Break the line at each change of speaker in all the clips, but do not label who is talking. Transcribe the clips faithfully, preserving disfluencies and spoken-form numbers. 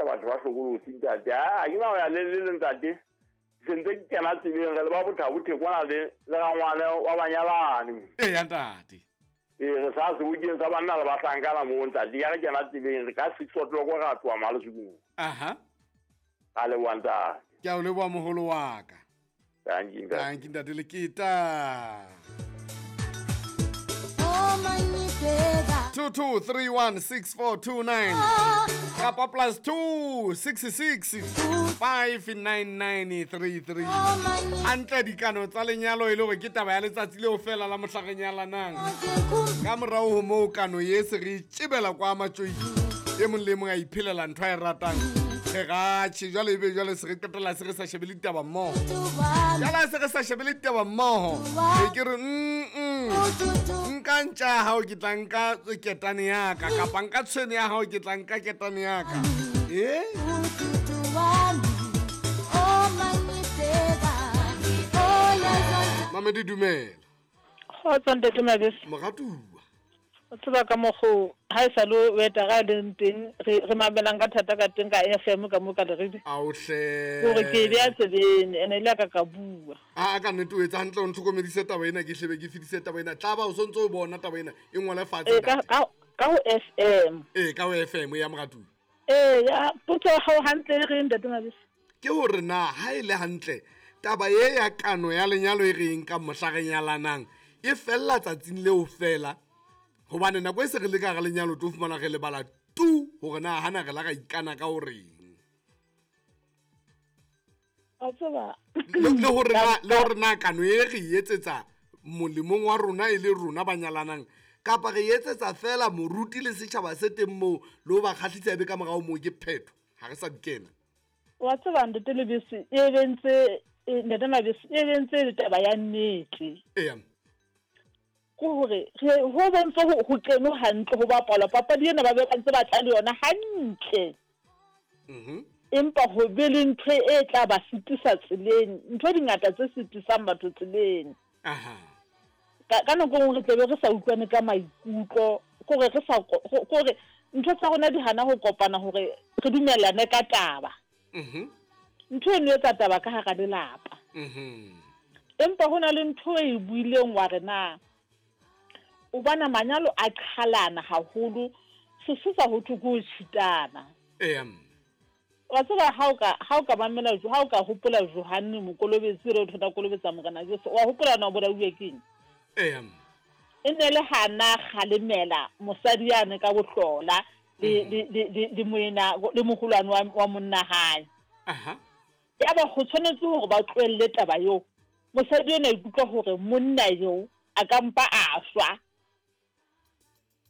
batho ba hlokolosi ntate. Ha ke na ho ya le le ntate. Se ntse ke kena tseleng re le ba Botha-Bothe kwana le le rangwane wa banyalane.
Eya ntate.
Ee re sa sebokeng sa banna le bahlankana moo ntate. Ya re kena tseleng re ka six o'clock ra tloha Malesukung.
Aha.
A leboha ntate.
Ke a o leboha moholo wa ka.
Thank you, ntate.
Thank you ntate Leketa. Two two three one six four two nine kapa plus two six six five nine nine three three. Hantle dikano tsa lenyalo e le hore ke taba ya letsatsi leo fela la mohla re nyalanang. Ka morao ho moo kano ye se re itjebela kwa matjoi. E mong le mong a iphelela ntho a e ratang. Re ratjhe jwale ebe jwale se re qetella se re sa shebele ditaba mmoho. Jwale se re sa shebele ditaba mmoho. E ke re mm mm. Nka ntja ya hao ke tla nka ketane ya ka kapa nka tshwene ya hao ke tla nka ketane ya ka. Eh? Mamedi dumela.
Kgotso ntate Mabese.
Moratuwa.
O tseba ka mokgo ha e sa le o eta ga leng teng re re mamelang ka thata ka teng ka F M ka mo ka leredi.
Aohle.
Hore ke be a tsebeng ene ile ka ka bua.
A ka nnete o etsa hantle o ntlhokomedise taba ena ke hlebe ke fedise taba ena. Tla ba o sontse o bona taba ena e ngwale fatshe.
E ka ka ka ho F M.
E ka ho F M ya moratuwa.
Eh ya potso ya hao hantle re ntate Mabese.
Ke hore na ha ile hantle taba ye ya kano ya lenyalo e reng ka mohla re nyalanang e fella tsatsing leo fela. Hobane nako e se re le ka hara lenyalo tlo fumana re lebala tu hore na hana re la ra ikana ka horeng.
A tseba
le hore na le hore na kano e re etsetsa molemong wa rona e le rona ba nyalanang kapa re etsetsa fela moruti le setjhaba se teng moo le ho ba kgahlisa ebe ka morao moo ke phetho ha re sa di kena.
Wa tseba ntate Lebese e bentse ntate Mabese e bentse le taba ya nnete.
Eya.
Ke hore re ho bontse ho keno hantle ho bapala papadi ena ba be ba ntse ba tla le yona hantle.
Mhm.
Empa ho be le ntho e tla ba sitisa tseleng, ntho di ngata tse sitisang batho tseleng.
Aha.
Ka ka nako nngwe re tlebe re sa utlwane ka maikutlo, kore re sa kore ntho tsa rona di hana ho kopana hore re dumellane ka taba.
Mhm.
Ntho eno e etsa taba ka hara lelapa.
Mhm.
Empa hona le ntho e buileng wa re na o bona manyalo a qhalana haholo sesosa ho thwe ke ho tshitana.
Eya.
Wa tseba ha o ka ha o ka mamela ha o ka hopola Johanne Mokolobetsi re o thota kolobetsa Morena Jesu wa hopola na o bolauwe keng?
Eya.
E ne le hana kgalemela mosadi yane ka bohlola le le le le moena le moholwane wa wa monna hae.
Aha.
Ya ba go tshwanetse hore ba tlohelle taba eo. Mosadi ena ikutlwa hore monna eo a ka mpa a shwa.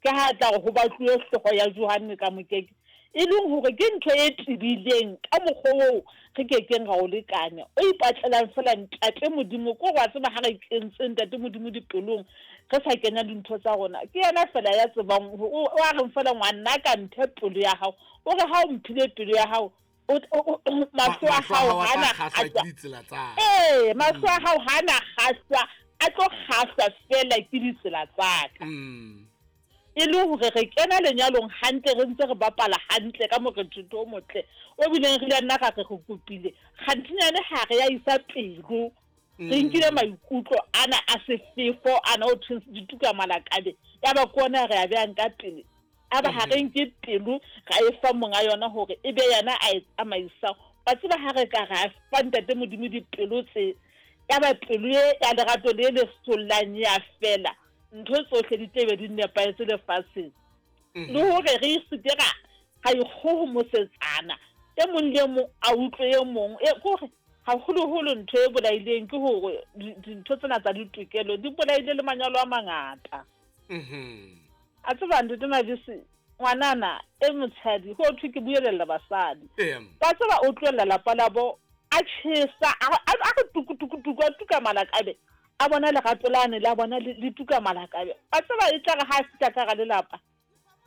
Ke ha tla go ba tloe hlogo ya Johanne ka mokeke e leng hore ke ntho e tibileng ka mokgwa oo re ke keng ga o lekane o ipatlelang fela ntate Modimo ko wa tseba ha re kentse ntate Modimo dipelong re sa kenya dintho tsa rona ke yena fela ya tsebang o a re fela ngwana ka nthe pelo ya hao o re ha o mphile pelo ya hao mahlo a hao hana
kgahlwa ke ditsela tsa
eh mahlo a hao hana kgahlwa a tlo kgahlwa fela ke ditsela tsa ka.
Mm.
E le hore re kena lenyalong hantle re ntse re bapala hantle ka morethetho o motle o bileng re le nna ka re go kopile kganthinyane ha re ya isa pelo re nkile maikutlo ana a sefefo ana o thwe dituka malakabe ya ba kona re a beang ka pele a ba ha re nke pelo ga e fa monga yona hore e be yena a e tsamaisa ba tseba ha re ka ra fa ntate Modimo dipelo tse ya ba pelo e ya lerato le le sollang ya fela ntho tsohle di tlebe di nepahetse lefatsheng. Le hore re seke ra ga ikgohomosetsana e mong le mong a utlwe e mong e kore haholoholo ntho e bolaileng ke hore dintho tsena tsa ditokelo di bolaile le manyalo a mangata.
Mhm.
A tseba ntate Mabese ngwanana e motshadi ho thwe ke buelella basadi. Ba tseba o tlohella lapa labo a tjhesa a re tuku tuku tuku a tuka malakabe a bona lerato lane la bona le tuka malakabe a tseba e tla re ha fihla ka ga lelapa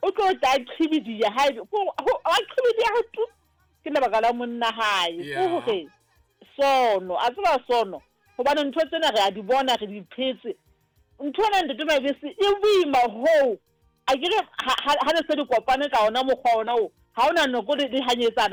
o tlo tla qhibidia ha a qhibidia ho tu ke lebaka la monna hae
Yeah.
hore sono a tseba sono hobane ntho tsena re a di bona re di phetse ntho ena ntate Mabese e boima ho a ke re ha ha le se di kopane ka ona mokgwa ona o ha ona nako le di hanyetsana